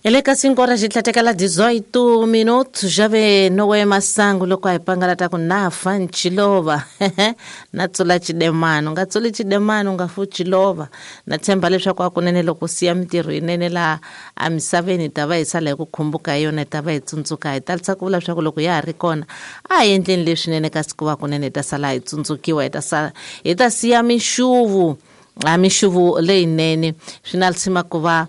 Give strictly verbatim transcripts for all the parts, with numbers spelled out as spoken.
Eleka cinco horas xitlhatekela dezoito minutos jave nowe masangu loko a hi pangalata ku na fa nchilova na tsula chidemano nga tsuli chidemano nga fu chilova na tshemba leswaku akunene loko siya mintirho yinene laha emisaveni hi ta va hi sala hi ku khumbuka hi yona hi ta va hi tsundzuka hi talisa ku vula leswaku loko ya ha ri kona a hi endleni leswinene kasi ku va kunene hi ta sala hi tsundzukiwa hi ta sala hi ta siya mixuvu a mixuvu leyinene swi na lisima ku va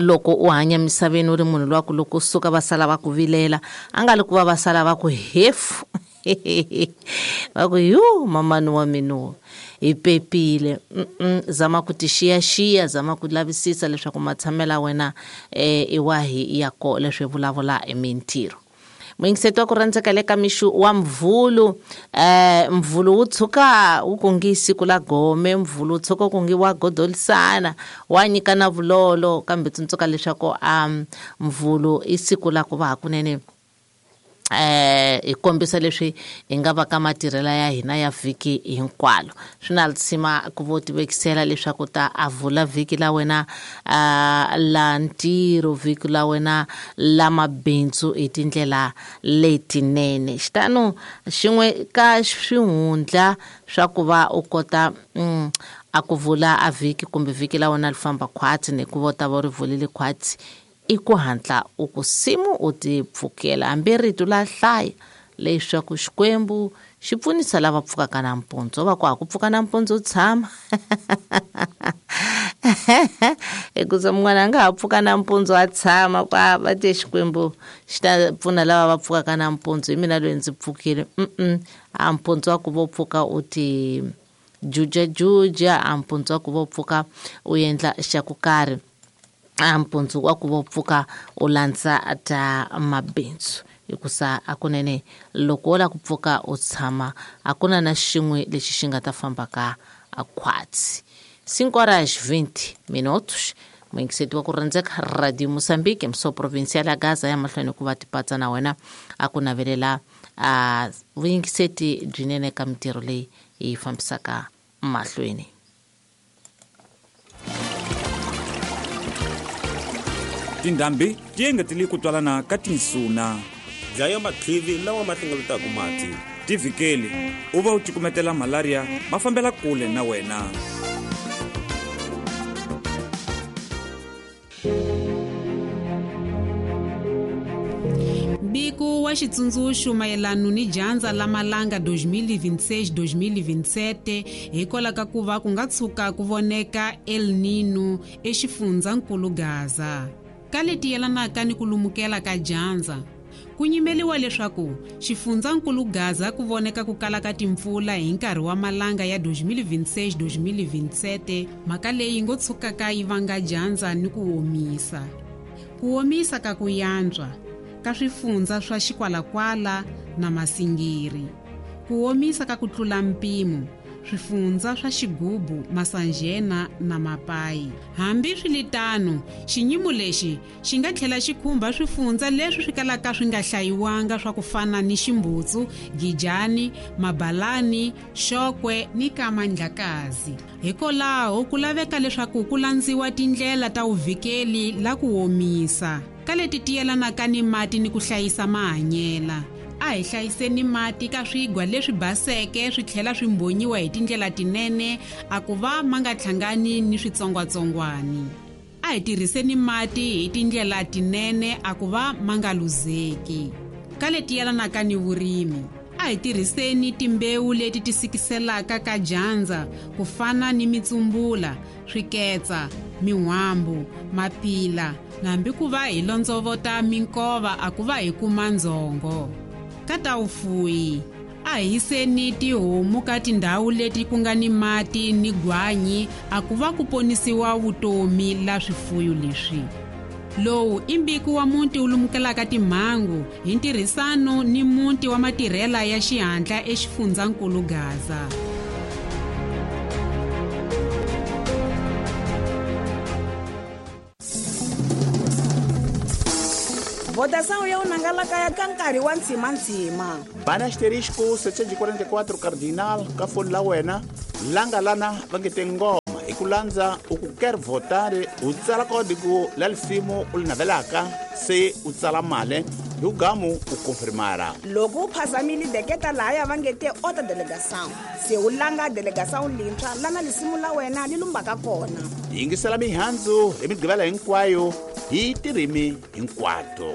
loko u hanya misaveni u ri munhu lowa ku loko suka va sala va ku vilela a nga li ku va va sala va ku hefu va ku yu mamani wa mina hi pepile. Zama ku ti xiyaxiya, zama ku lavisisa leswaku matshamelo ya wena i wahi ya ko leswi vulavula hi mintirho. Muyingiseti wa ku rhandzeka le ka mixu wa mvulu eh mvulu wu tshuka wu ku ngi siku la gome, mvulu wu tshuka ku ngi wa godolisana wa nyikana vulolo, kambe tsundzuka leswaku um mvulu i siku la ku va hakunene eh hi kombisa leswi hi nga va ka matirhela ya hina ya vhiki hinkwalo. Swi na lisima ku vo tivekisela leswaku ta a vula vhiki la wena la ntirho, vhiki la wena la mabindzu hi tindlela letinene. Xitano xin'we ka swihundla swa ku va u kota a ku vula a vhiki kumbe vhiki la wena li famba khwatsi ni ku vo ta va ri vulile khwatsi i ku hatla u ku simu u ti pfukela hambi rito la hlaya leswaku Xikwembu xi pfunisa lava pfukaka nampundzu va ku ha ku pfuka nampundzu u tshama hikuza mun'wana a nga ha pfuka nampundzu a tshama kwa va te Xikwembu xi ta pfuna lava va pfukaka nampundzu hi mina loyi ndzi pfukile. A mpundzu wa ku vo pfuka u ti jujajuja, a mpundzu wa ku vo pfuka u endla xa ku karhi, a mpundzu wa ku vo pfuka u landza ta mabindzu hikusa akunene loko wo la ku pfuka u tshama a ku na na xin'we lexi xi nga ta famba ka khwatsi. Cinco horas vinte minutos muyingiseti wa ku rhandzeka Radio Moçambique mso provincial ya Gaza ya mahlweni ku va tipatsa na wena a ku navelela a vuyingiseti byinene ka mintirho leyi yi fambisaka mahlweni. Tindhambi ti engetele ku twalana ka tinsuna, dlaya matlivi lawa ma hlengeletaka mati, ti vhikeli u va u cukumetela malaria ma fambela kule na wena. Mbiko wa xitsundzuxo mayelana ni dyandza la malanga dois mil e vinte e seis dois mil e vinte e sete hikwalaho ka ku va ku nga tshuka ku voneka El Nino exifundzankulu Gaza. Ka leti yelanaka ni ku lumukela ka dyandza ku nyimeliwa leswaku xifundzankulu Gaza ku voneka ku kala ka timpfula hi nkarhi wa malanga ya dois mil e vinte e seis dois mil e vinte e sete, mhaka leyi ngo tshukaka yi vanga dyandza ni ku omisa. Ku omisa ka ku yantswa ka swifundza swa Xikwalakwala na Masingiri, ku omisa ka ku tlula mpimo swifundza swa Xigubu, Masanjena na Mapayi. Hambi swiritano, xinyimo lexi xi nga tlhela xi khumba swifundza leswi swi kalaka swi nga hlayiwanga swa ku fana ni Ximbutsu, Gijani, Mabalani, Xokwe ni Kamandlakazi. Hikwalaho ku laveka leswaku ku landziwa tindlela ta vuvikeli la ku omisa ka leti ti yelanaka ni mati ni ku hlayisa mahanyela. A hi hlayiseni mati ka swigwa leswi baseke swi tlhela swi mbhonyiwa hi tindlela tinene a ku va ma nga hlangani ni switsongwatsongwani. A hi tirhiseni mati hi tindlela tinene a ku va ma nga luzeki. Ka leti yelanaka ni vurimi, a hi tirhiseni timbewu leti ti sikiselaka ka dyandza ku fana ni mitsumbula, swiketsa, min'wambu, mapila na hambi ku va hi londzovota minkova a ku va hi kuma ndzhongo. Ka ta vufuwi, a hi yiseni tihomu ka tindhawu leti ku nga ni mati ni gwanyi a ku va ku ponisiwa vutomi la swifuyo leswi. Lowu i mbiko wa muti wu lumukelaka timhangu hi ntirhisano ni muti wa matirhela ya xihatla exifundzankulu Gaza. Votação ya unangalaka ya ka nkarhi wa ntsimantsima. Bana asterisco setecentos e quarenta e quatro cardinal ka foni la wena langa lana va nge te ngoma ku landza u ku quer votar, u tsala kódigo la lisimu u li navelaka, se u tsala male hi ugamu u konfirmara. Loko u phazamile deketa lahaya va nge te outra delegação, se u langa delegação lintshwa lana lisimu la wena li lumbaka kona. Yingisela mihandzu hi migqivela hinkwayo hi tirimi hinkwato.